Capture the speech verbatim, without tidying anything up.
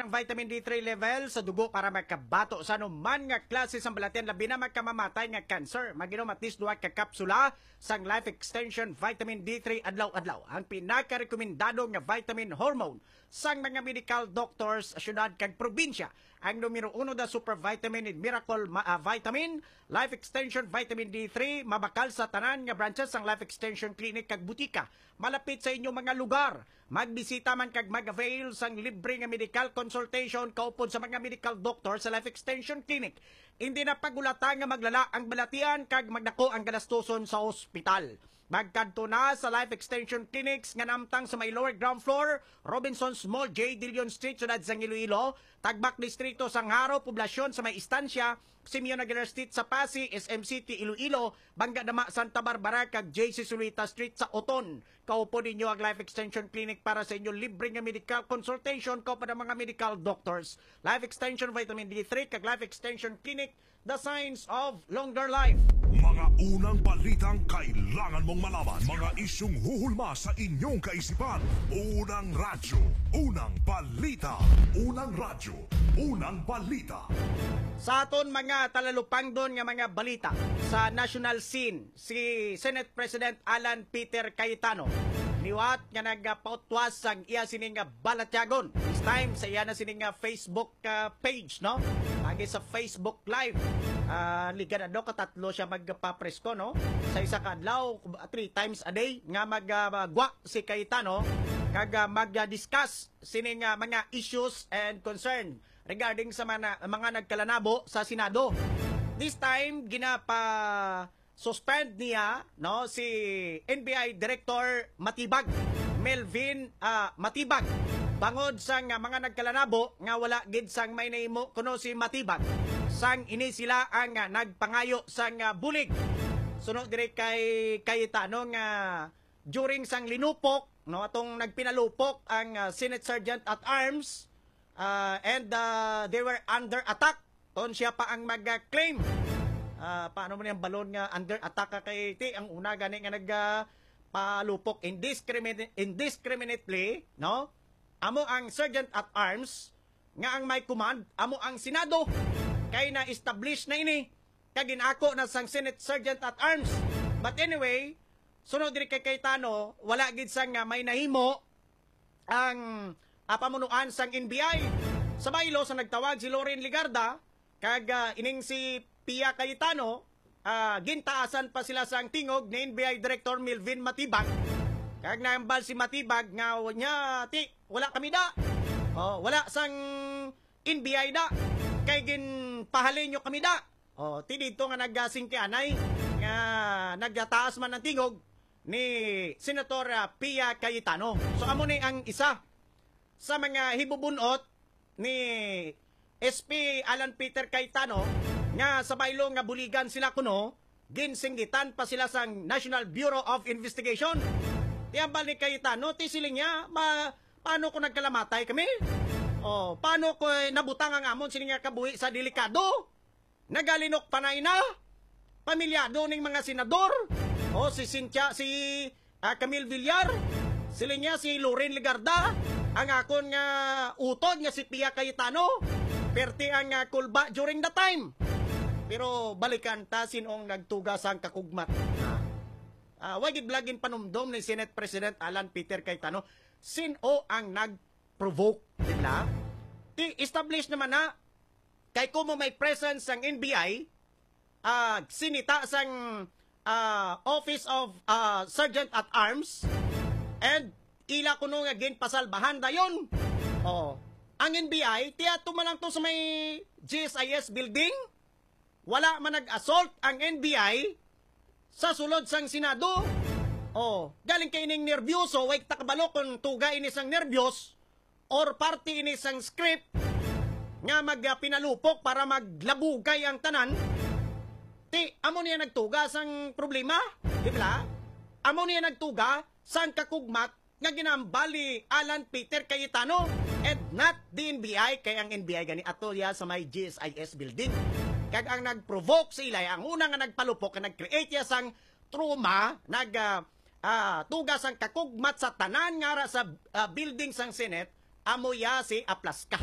vitamin D three level sa dugo para makabato sa anuman nga klase sang balatian, labi na magkamamatay nga cancer. Mag-inom at least duha ka kapsula sang Life Extension Vitamin D three adlaw-adlaw, ang pinakarekomendado nga vitamin hormone sang mga medical doctors sa syudad kag probinsya. Ang numero uno da Super Vitamin and Miracle ma-, ah, Vitamin, Life Extension Vitamin D three, mabakal sa tanan nga branches sang Life Extension Clinic kag butika malapit sa inyong mga lugar. Magbisita man kag mag-avail sang libre nga medical consultation kaupod sa mga medical doctor sa Life Extension Clinic. Hindi na pagulata nga maglala ang balatian kag magdako ang galastuson sa ospital. Magkadto na sa Life Extension Clinics nga namtang sa may lower ground floor, Robinson's Mall, J. Dillon Street, Siyudad sang Iloilo, Tagbak Distrito, sang Jaro, poblasyon sa may Estancia, Simeon Aguilar Street sa Passi, S M City, Iloilo, Bangga Dama, Santa Barbara, kag J C Zulueta Street sa Oton. Kaupod ninyo ang Life Extension Clinic para sa inyo libre nga medical consultation kaupod ang mga medical doctors. Life Extension Vitamin D three kag Life Extension Clinic, the signs of longer life. Mga unang balitang kailangan mong malaman. Mga isyung huhulma sa inyong kaisipan. Unang radyo, unang balita. Unang radyo, unang balita. Sa aton mga talalupangdon nga mga balita sa national scene, si Senate President Alan Peter Cayetano liwat nga nagapautwas sang iya sini nga balatyagon. This time sa iya na sini nga Facebook ah, page, no? Agi sa Facebook Live. Ah, liga na, no? Katatlo siya magpapresko, no? Sa isa ka adlaw, three times a day nga magwa si Cayetano kag ah, mag-discuss sining ah, mga issues and concern regarding sa mga, mga nagkalanabo sa Senado. This time, ginapa suspend niya, no, si N B I Director Matibag, Melvin ah, Matibag, bangod sa nga mga nagkalanabo nga wala gid sang may nahimo kuno si Matibag, sang ini sila ang ah, nagpangayo sang ah, bulig. Suno diri kay Cayetano nga during sang linupok, no, atong nagpinalupok ang ah, Senate Sergeant at Arms, ah, and ah, they were under attack. Ton siya pa ang mag-claim. Ah, paano mo niyang balon nga under attack ka kay ti ang una gani nga nag ah, palupok indiscriminate, indiscriminately, no? Amo ang Sergeant at Arms nga ang may command, amo ang Senado, kay na-establish na ini kag ginako na sang Senate Sergeant at Arms. But anyway, sunod diri kay Cayetano, wala gid sang ah, may nahimo ang ah, pamunuan sang N B I. Sa baylo sa nagtawag si Loren Legarda kag ah, ining si Pia Cayetano, ah, gintaasan pa sila sang tingog ni N B I Director Melvin Matibag. Kag nahambal si Matibag nga nya ti wala kami da. Oh, wala sang N B I da. Kay ginpahalin nyo kami da. Oh, ti dito nga nagasingkianay nga nagataas man ang tingog ni Senator ah, Pia Cayetano. So amo ni ang isa sa mga hibubunot ni S P Alan Peter Cayetano nga sa baylo nga buligan sila kuno, ginsinggitan pa sila sang National Bureau of Investigation. Ti hambal ni Cayetano, ti siling niya, ma, paano kung nagkalamatay kami? Oh, paano ko nabutang ang amon sini nga kabuhi sa delikado? Nagalinok panay na. Pamilyado ning mga senador. O si Cynthia, si ah, Camille Villar. Sila niya si Loren Legarda. Ang akon nga utod nga si Pia Cayetano. Perti ang ah, kulba during the time. Pero balikan ta sinong nagtuga sang kakugmat. Ah, wa gid bala ginpanumdom ni Senate President Alan Peter Cayetano. Sino ang nag-provoke, di ba? Ti establish naman na kay kumo may presence sang N B I, ah, sinita sang ah, Office of ah, Sergeant at Arms and ila kuno nga ginpasalbahan dayon. Oh, ang N B I, tiato man lang to sa may G S I S building. Wala man nag-assault ang N B I sa sulod sang Senado. Oh, galing kay ining nervyoso, way ta kabalo kung tuga ini sang nervyos or parte ini sang script nga magpinalupok para maglabugay ang tanan. Ti, amo niya nagtuga sang problema, di ba? Amo niya nagtuga sang kakugmat nga ginahambal ni Alan Peter Cayetano and not the N B I, kay ang N B I gani ato ya sa may G S I S building. Kag ang nag-provoke sa ilay, ang una nga nagpalupok, nga nag-create ya sang trauma, nag ah, ah, tuga sang kakugmat sa tanan nga ara sa ah, building sang Senate, amo ya si Aplaska.